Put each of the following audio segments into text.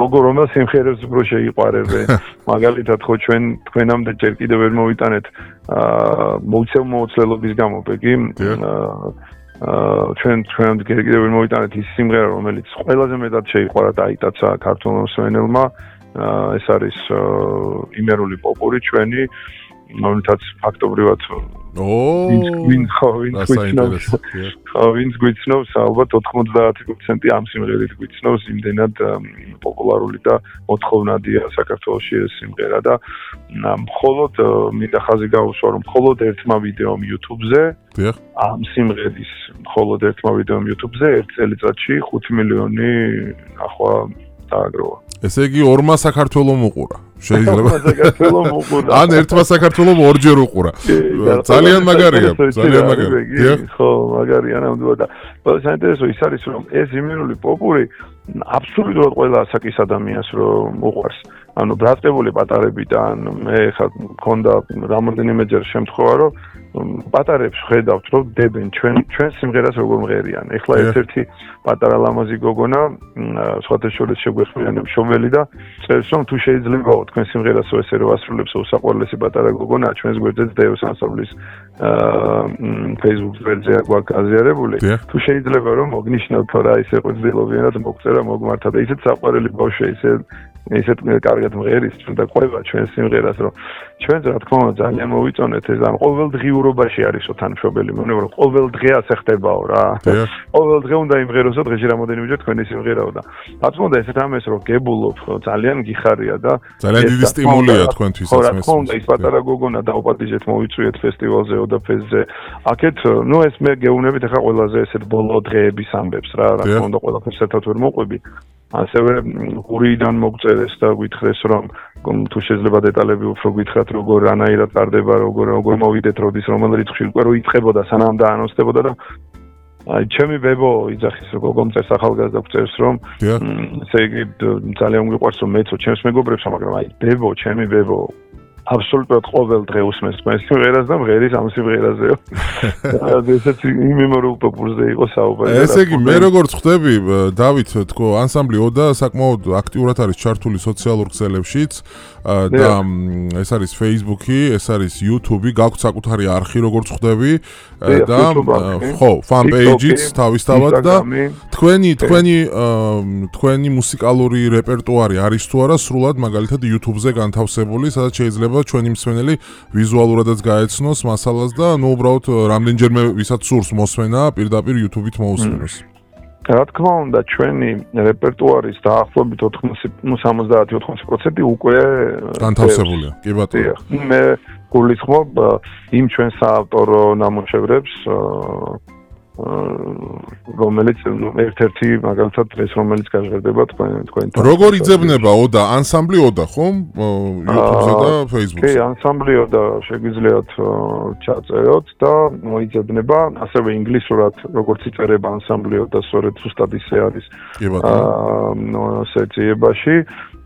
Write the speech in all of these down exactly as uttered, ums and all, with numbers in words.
როგორ რომელ სიმღერებს უფრო შეიყვარებენ. მაგალითად ხო ჩვენ თქვენამდე ჯერ კიდევ ვერ მოვიტანეთ აა მოუცემ-მოუცლელობის გამო ბეგი აა ჩვენ ჩვენამდე ჯერ კიდევ ვერ მოვიტანეთ ის სიმღერა რომელიც ყველაზე მეტად შეიყვარა დაიტაცა ქართულ მოსმენელმა ეს არის იმერული პოპური ჩვენი რომელთაც ფაქტობრივად ვინ ხო ვინ გვიცნობს ხო ვინ გვიცნობს ალბათ ოთხმოცდაათი პროცენტი ამ სიმღერით გვიცნობს იმდენად პოპულარული და მოთხოვნადია საქართველოში ეს სიმღერა და მხოლოდ მინდა ხაზი გაუსვა რომ მხოლოდ ერთმა ვიდეომ YouTube-ზე ამ სიმღერის მხოლოდ ერთმა ვიდეომ YouTube-ზე ერთ წელიწადში ხუთი მილიონი ახლა დააგროვა ესე იგი ორმა საქართველომ უყურა შეიძლება საქართველომ უყურა ან ერთმა საქართველომ ორჯერ უყურა ძალიან მაგარია ძალიან მაგარია ხო მაგარია ნამდვილად და საინტერესო ის არის რომ ეს იმერული პოპური აბსოლუტურად ყველა ასაკის ადამიანს რომ უყვარს ანუ ბრატყებული პატარებიდან მე ხა მქონდა რამოდენიმეჯერ შემთხვევა რომ პატარებს ხედავთ რომ დებენ ჩვენ ჩვენ სიმღერას როგორ მღერიან ეხლა ერთ-ერთი პატარა ლამაზი გოგონა სხვათა შორის შეგვეხმიანებ შობელი და წერს რომ თუ შეიძლებაო თქვენ სიმღერასო ესე რომ ასრულებს უსაყვარლესი პატარა გოგონა ჩვენს გვერდზეც დევს ასრულის Facebook გვერდზე აქვს აზიარებული თუ შეიძლება რომ მოგნიშნოთ რა ისე ყვრძილობიანად მოგწერა მოგმართა და ისეთ საყვარელი ბავშვი ისე ისეთ კარგად მღერის და ყვება ჩვენ სიმღერას რომ ჩვენც რა თქმა უნდა ძალიან მოვიწონეთ ეს ამ ყოველდღიურობაში არისო თანმშობელი მოვნება რომ ყოველ დღე ასე ხდებაო რა ყოველ დღე უნდა იმღეროსო დღეში რამოდენიმეჯერ თქვენი სიმღერაო და რა თქმა უნდა ესეთ ამას რომ გებულობ ძალიან გიხარია და ძალიან დიდი სტიმულია თქვენთვისაც რა თქმა უნდა ის პატარა გოგონა დაუპატიჟეთ მოვიწვიეთ ფესტივალზე ოდაფესზე აქეთ ნუ ეს მე გეუბნებით ახლა ყველაზე ესეთ ბოლო დღეების ამბებს რა რა თქმა უნდა ყველაფერს ერთად ვერ მოყვები ასევე გურიდან მოგწერეს და გითხრეს რომ თუ შეიძლება დეტალები უფრო გითხრათ როგორ რანაირად ტარდება როგორ როგორ მოვიდეთ როდის რომელ რიცხვში უკვე რო იწყებოდა სანამ დაანონსდებოდა და აი ჩემი ბებო იძახის რომ გოგომ წერს ახალგაზრდა წერს რომ ესე იგი ძალიან მიყვარს რომ მეცო ჩემს მეგობრებს მაგრამ აი ბებო ჩემი ბებო აბსოლუტურად ყოველ დღე უსმენს თქვენს სიმღერას და მღერის ამ სიმღერაზეო. ესეც იმემორულ პოპულზე იყო საუბარი. ესე იგი მე როგორც ხვდები დავით თქო ანსამბლი ოდა საკმაოდ აქტიურად არის ჩართული სოციალურ ქსელებშიც და ეს არის Facebook-ი, ეს არის YouTube-ი, გაქვთ საკუთარი არხი როგორც ხვდები და ხო, fan page-იც თავისთავად და თქვენი თქვენი თქვენი მუსიკალური რეპერტუარი არის თუ არა სრულად მაგალითად YouTube-ზე განთავსებული, სადაც შეიძლება ჩვენი მსმენელი ვიზუალურადაც გაეცნოს მასალას და ნუ უბრალოდ რამდენჯერმე ვისაც სურს მოსმენა პირდაპირ YouTube-ით მოусმინოს. რა თქმა უნდა ჩვენი რეპერტუარის დაახლოებით ოცდაათი ოცდაოთხი პროცენტი უკვე განთავსებულია. კი ბატონო. მე გულისხმობ იმ ჩვენ საავტორო ნამუშევრებს რომელიც ერთ-ერთი მაგალითად დღეს რომელიც გაჟღერდება თქვენ თქვენთან. როგორ იძებნება ოდა ანსამბლი ოდა ხომ YouTube-ზე და Facebook-ზე? კი, ანსამბლი ოდა შეგვიძლიათ ჩაწეროთ და მოიძებნება ასევე ინგლისურად როგორც იწერება ანსამბლი ოდა სწორედ ზუსტად ისე არის. კი ბატონო. აა სეციაში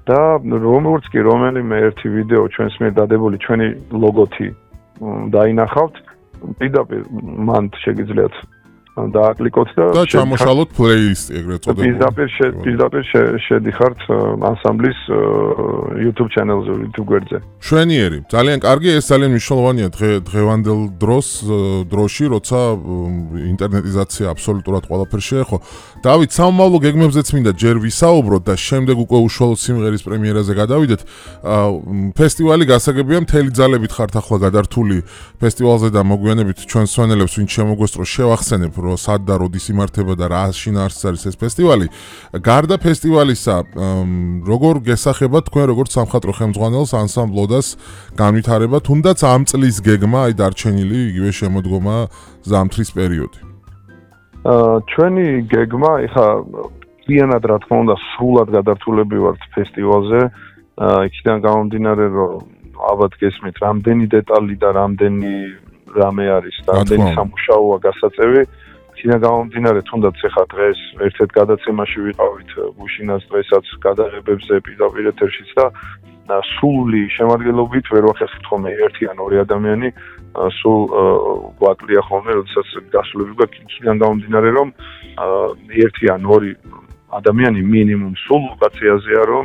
და როგორც კი რომელიმე ერთი ვიდეო ჩვენს მიერ დადებული ჩვენი ლოგოთი დაინახავთ პირდაპირ მან შეგიძლიათ დააკლიკოთ და და ჩამოშალოთ პლეილისტი ეგრეთ წოდებული. პირდაპირ პირდაპირ შედიხართ ანსამბლის YouTube channel-ზე, YouTube გვერდზე. შვენიერი, ძალიან კარგი, ეს ძალიან მნიშვნელოვანია დღე დღევანდელ დროს დროში, როცა ინტერნეტიზაცია აბსოლუტურად ყველაფერს შეეხო. დავით, სამომავლო გეგმებზეც მინდა ჯერ ვისაუბროთ და შემდეგ უკვე უშუალოდ სიმღერის პრემიერაზე გადავიდეთ. ფესტივალი გასაგებია მთელი ძალებით ხართ ახლა გადართული ფესტივალზე და მოგვიანებით ჩვენ სვენელებს ვინც შემოგვესწრო შევახსენებ რომ სად და როდის იმართება და რა შინაარსიც არის ეს ფესტივალი. გარდა ფესტივალისა, როგორ გესახება თქვენ როგორც სამხატვრო ხელმძღვანელს ანსამბლოდას განვითარება, თუნდაც ამ წლის გეგმა, აი დარჩენილი იგივე შემოდგომა ზამთრის პერიოდი. აა ჩვენი გეგმა, ეხა პირანად რა თქმა უნდა, სრულად გადართულები ვართ ფესტივალზე. აა იქიდან გამომდინარე, რომ ალბათ გესმით, რამდენი დეტალი და რამდენი რამე არის და რამდენი სამუშაოა გასაწევი. იქიდან გამომდინარე, თუნდაც ეხა დღეს ერთ-ერთ გადაცემაში ვიყავით გუშინას დღესაც გადაღებებზე პირდაპირ ეთერშიც და სული შემადგენლობით ვერ ვახერხებთ ხოლმე ერთი ან ორი ადამიანი სულ გვაკლია ხოლმე, როდესაც გასულები გვაქვს იქიდან გამომდინარე, რომ ერთი ან ორი ადამიანი მინიმუმ სულ ლოკაციაზეა რომ